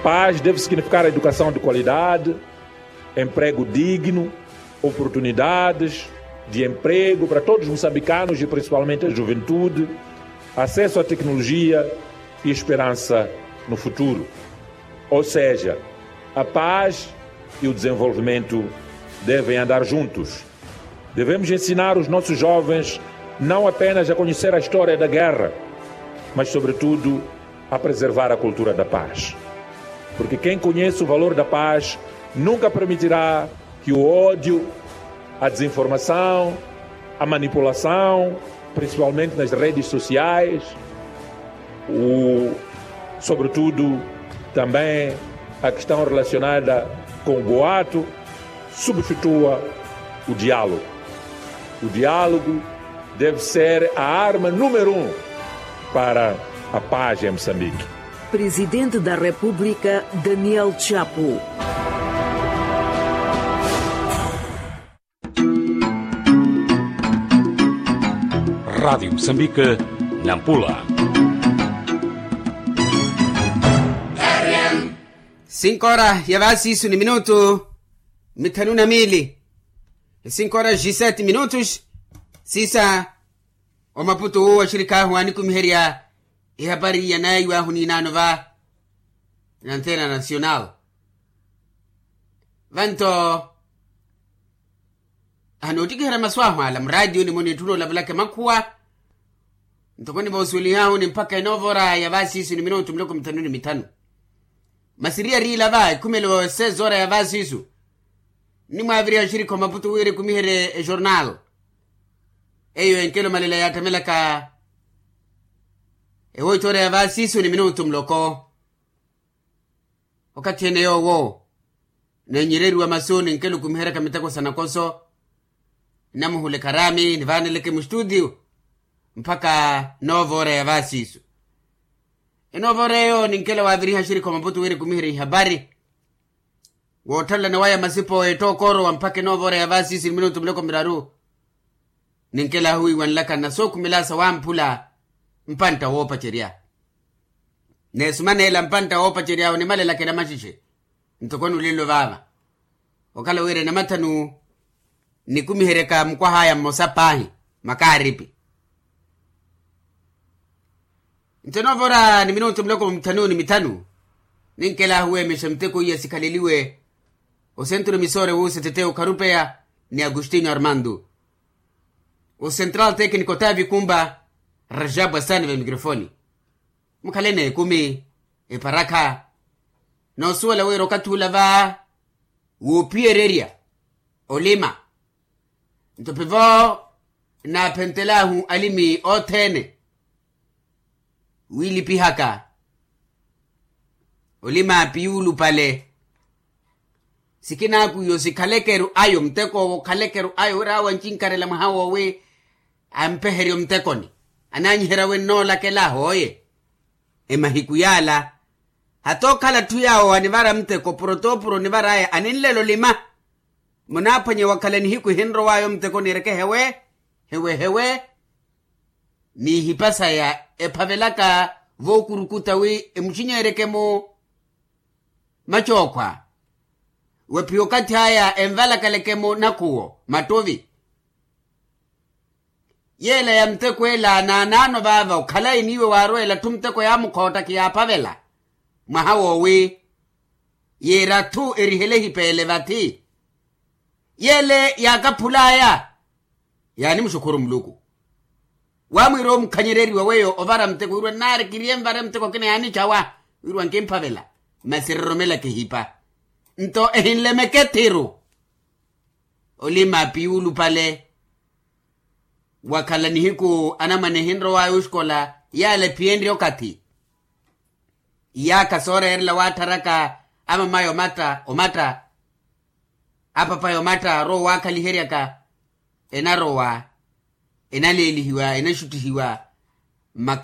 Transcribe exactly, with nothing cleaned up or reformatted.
Paz deve significar educação de qualidade, emprego digno, oportunidades de emprego para todos os moçambicanos e principalmente a juventude, acesso à tecnologia e esperança no futuro. Ou seja, a paz e o desenvolvimento devem andar juntos. Devemos ensinar os nossos jovens não apenas a conhecer a história da guerra, mas sobretudo a preservar a cultura da paz. Porque quem conhece o valor da paz nunca permitirá que o ódio, a desinformação, a manipulação, principalmente nas redes sociais, o, sobretudo também a questão relacionada com o boato, substitua o diálogo. O diálogo deve ser a arma número um para a paz em Moçambique. Presidente da República, Daniel Chapo. Rádio Moçambique, Nampula. Cinco horas ya vasi isu ni minutu mithanu na mili. Cinco horas dezessete minutos. Sisa, omaputu owo axirik'ahu anikumiherya ihapari yanaiwahu n'inaano va na antena nacional. Vanto, ahanoottikiherya masu ahu ala muraatiyuni-mo nitthuna olavulaka emakhuwa. Ntoko nivoosuwelihahu ni mpakha enoova ora ya vaasiisu ni minutu miloko mithanu ni mithanu. Masi eri yariila va ekhumelo seis ora ya vaasiisu, nnimwaaviriha axirikha omaputu wira ekumiherye ejornal. Eyo enkelo malela yaattamelaka ewoitthoora ya vaasiisu ni minutu muloko. Okathi ene yoowo neenyereriwa masu ni nkelo okumiheryaka miteko sa nakoso, nnamuhuleka araami nivaaneleke mustutiyu mpakha noova ora ya vaasiisu. Enoova ora eyo ni nkelo waaviriha axirikha omaputu wira ekumiherye ihapari. Wootthalelana waya masipo ettooka orowa mpakha enoova ora ya vaasiisu ni minutu miloko miraru. Ninkelahu wiiwanlaka nnasookhumelasa wamphula mpantta woopacerya. Neesumaneela mpantta woopacerya onimalelaka enamaxixe ntoko nulelo vaava. Okhala wira enamathanu nikumiheryaka mukwah'aya mmosa paahi makaaripi. Nto enoova ora ni minutu miloko mithanu ni mithanu, ninkelahu weemexa miteko iya sikhaleliwe osentro misore wuusa eteteya okharupeya ni agostinho armando. Osentral tekniko tavi kumba rajabu asani va mikrofoni. Mukhale n'ekumi, eparakha noosuwela wira okathi ula va woophiyererya olima. Nto pivo naaphentelahu alimi othene wiilipihaka olima piyuulupale. Sikinaaku iyo sikhalekeru ayo muteko owo okhalekeru ayo wira awo ancinkarela mwaha woowi ampeherye omuttekoni. Anaanyiherya wi nnoolakela ahooye emahiku yaala. Hata okhala atthu yaawo anivara muteko purotoopuro onivar'aya aninlela olima. Munaaphwanye wakhala nihiku ehinrow'aya omuttekoni ereke hewe hewe hewe. N'ihipa saya ephavelaka vookurukuta wi emuxinyeeryeke-mu macookhwa. Wephiya okathi aya envalakaleke-mu nakhuwo mattuvi. Yeela ya muteko ela naanaano vaava okhalayi n'iwe waarweela atthu muteko yaamukhootta khiyaaphavela mwaha woowi. Yiira atthu erihele ehipeele vathi yeele yaakaphul'aya. Yaanimuxukhuru muluku waamwiira omukhanyereriwa weyo ovara muteko wirwa nnaari kiriye nvare muteko okina yaanicawa wirwa nkimphavela. Masi eroromelaka ehipa nto ehinlemeke ethiru. Olima piyuulupale wakhala nihiku anamwane ehinrow'aya oxikola yaala ephiyenrye okathi. Iyaakha sooreerela waattharaka amamaya omatta omatta apapaya omatta arowa waakhaliheryaka enarowa enaleelihiwa enaxuttihiwa mma